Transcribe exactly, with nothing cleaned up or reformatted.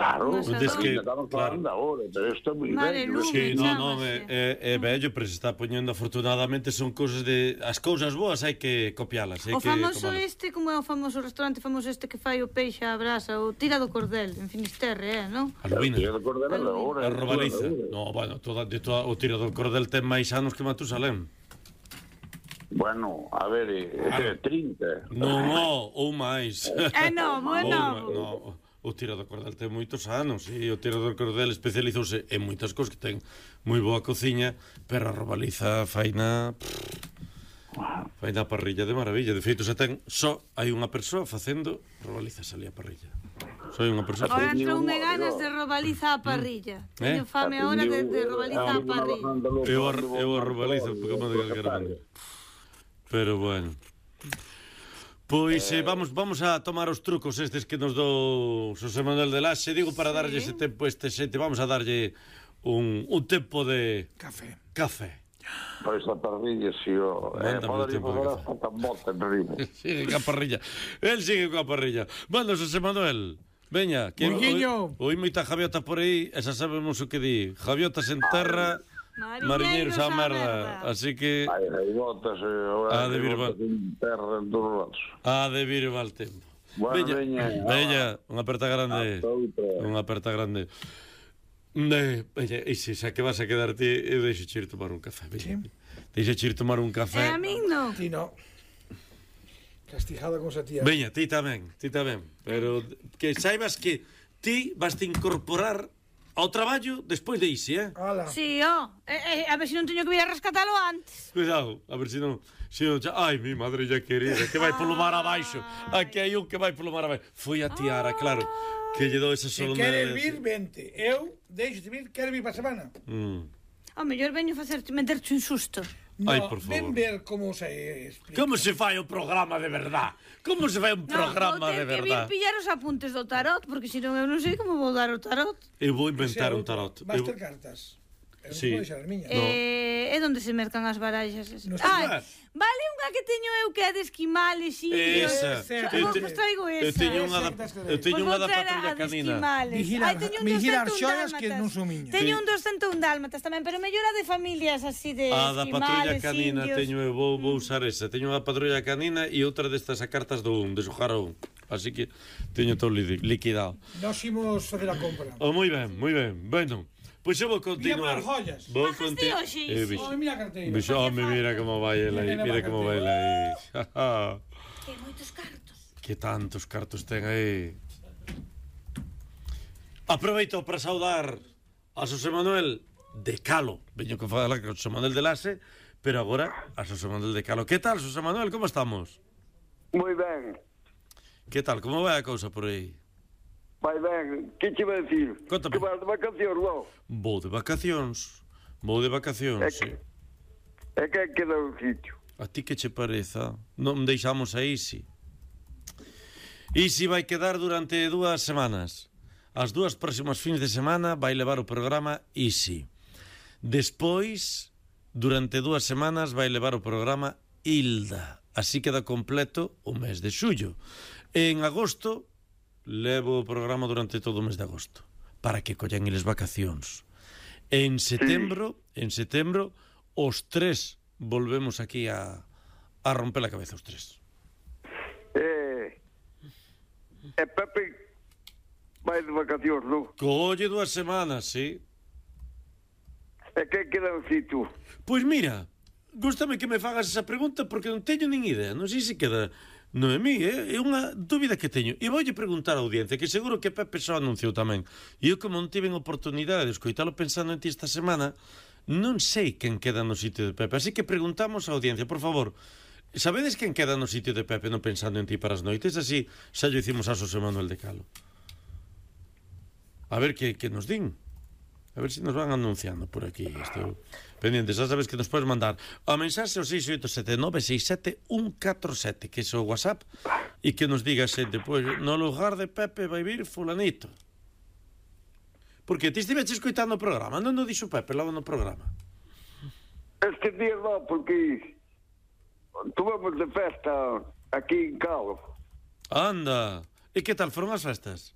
Claro, es que, estamos claro. falando ahora, pero isto é moi bello. Sí, non, non, é, é, é bello, pero se está poñendo afortunadamente son cousas de... As cousas boas hai que copialas, hai O que famoso tomalas. este, como é o famoso restaurante famoso este que fai o peixe á brasa, o Tira do Cordel, en Finisterre, é, non? A Lubina. Tira do Cordel é da hora. A Robaliza. No, bueno, toda, de toda, o Tira do Cordel ten máis anos que Matusalén. Bueno, a ver, é trinta. Non, no, ou máis. É novo, é novo. No, o Tira do Cordel ten moitos anos, e o Tira do Cordel especializouse en moitas cousas que ten moi boa cociña, pero a Robaliza faina... Fai na parrilla de maravilla. De feito, se ten só hai unha persoa facendo Robalizas ali a parrilla. Só hai unha persoa. Ahora troume ganas de Robaliza a parrilla. Teño fame ahora de, de Robaliza a parrilla. Eu a, eu a Robaliza como de calquera maneira. Pero bueno. Pois eh, vamos vamos a tomar os trucos estes que nos do Xosé Manuel de Laxe. Digo para darlle ese tempo este xente, vamos a darlle un, un tempo de café. Café. Pois a parrilla, si o... Eh, podería fazer hasta tan bota en riba. Sigue ca parrilla. El sigue coa parrilla. Manda, Xosé Manuel. Veña, que Muiño. Oi moita javiota por aí, e xa sabemos o que di. Javiotas en terra, mariñeiros á merda. Así que... Hai gaivotas e... A de vir mal. Terra en todos lados. A de vir mal tempo. Bueno, veña, veña. Veña, unha aperta grande. Unha aperta grande. Ne, veña, e se xa que vas a quedar ti, eu deixo ir tomar un café. Veña. Sí. Deixo ir tomar un café. E a min non. Ti non. Castigada con esa tía. Veña, ti tamén, ti tamén. Pero que saibas que ti vas te incorporar ao traballo despois de ise, eh? Ala. Si, ó. Eh, eh, a ver se non teño que vir a rescatalo antes. Cuidado, a ver se non... Se non xa... Ai, mi madre ya querida, que vai polo mar abaixo. Aquí hai un que vai polo mar abaixo. Foi a tiara, claro, que lle dou esa Se solemne... queres vir, vente. Eu deixo de vir, quero vir para a semana. Mm. Ao mellor veño facer meterte un susto. No, Ai, por favor. ven ver como se explica. Como se fai o programa de verdad? Como se fai un programa no, de vou ter que vir verdad? pillar os apuntes do tarot, porque senón eu non sei como vou dar o tarot. Eu vou inventar un tarot. Vas Eu... ter cartas. Eu Sí. non vou deixar as miñas. Eh, é onde se mercan as baraxas. No Ai, vale unha que teño eu que é de esquimales, indios. Esa. Eu vos traigo esa. Eu teño unha da, eu teño unha da patrulla canina. Vigilar, vigilar xoias que non son miñas. Teño un doscientos un dálmatas tamén, pero mellor a de familias así de A da patrulla esquimales, canina indios. teño eu, vou, vou usar esa. Teño unha patrulla canina e outra destas a cartas do un, de xogar un. Así que teño todo liquidado. Nos imos facer a compra. Oh, moi ben, moi ben. Bueno, pois eu vou continuar. Mira as joyas. Vou Bajas de continuar. hoxe, Oh, mira a carteira. Bicho, home, mira como vai ela aí, mira como vai ela aí. Que moitos cartos. Que tantos cartos ten aí. Aproveito para saudar a Xosé Manuel de Calo. Veño que falar con Xosé Manuel de Laxe, pero agora a Xosé Manuel de Calo. Que tal, Xosé Manuel, como estamos? Moi ben. Que tal, como vai a cousa por aí? Vai ben. Que che vai dicir? Contame. Que vas de vacacións, non? Vou de vacacións. Vou de vacacións, É sí. que, é que queda un sitio. A ti que che pareza? Non deixamos a Isi. Isi vai quedar durante dúas semanas. As dúas próximas fins de semana vai levar o programa Isi. Despois, durante dúas semanas, vai levar o programa Hilda. Así queda completo o mes de xullo. En agosto, levo o programa durante todo o mes de agosto, para que collan eles vacacións. En setembro, en setembro, os tres volvemos aquí a, a romper a cabeza, os tres. Eh, e Pepe vai de vacacións, non? Colle dúas semanas, sí. E que queda un sitio? Pois mira, gústame que me fagas esa pregunta porque non teño nin idea. Non sei se queda Noemí, é, é unha dúbida que teño. E voulle preguntar á audiencia, que seguro que Pepe xa anunciou tamén. E eu, como non tiven oportunidade de escoitalo pensando en ti esta semana, non sei quen queda no sitio de Pepe. Así que preguntamos á audiencia, por favor, sabedes quen queda no sitio de Pepe non pensando en ti para as noites? Así xa lle hicimos a Xosé Manuel de Calo. A ver que, que nos din. A ver se nos van anunciando por aquí. Estou pendiente, xa sabes que nos podes mandar a mensaxe ao seis oito sete nove seis sete un catro sete, que é o WhatsApp, e que nos diga xente, pois, no lugar de Pepe vai vir fulanito. Porque ti estiveches escoitando o programa, non o dixo Pepe logo no programa? Este día non, porque tuvemos de festa aquí en Calo. Anda, e que tal foron as festas?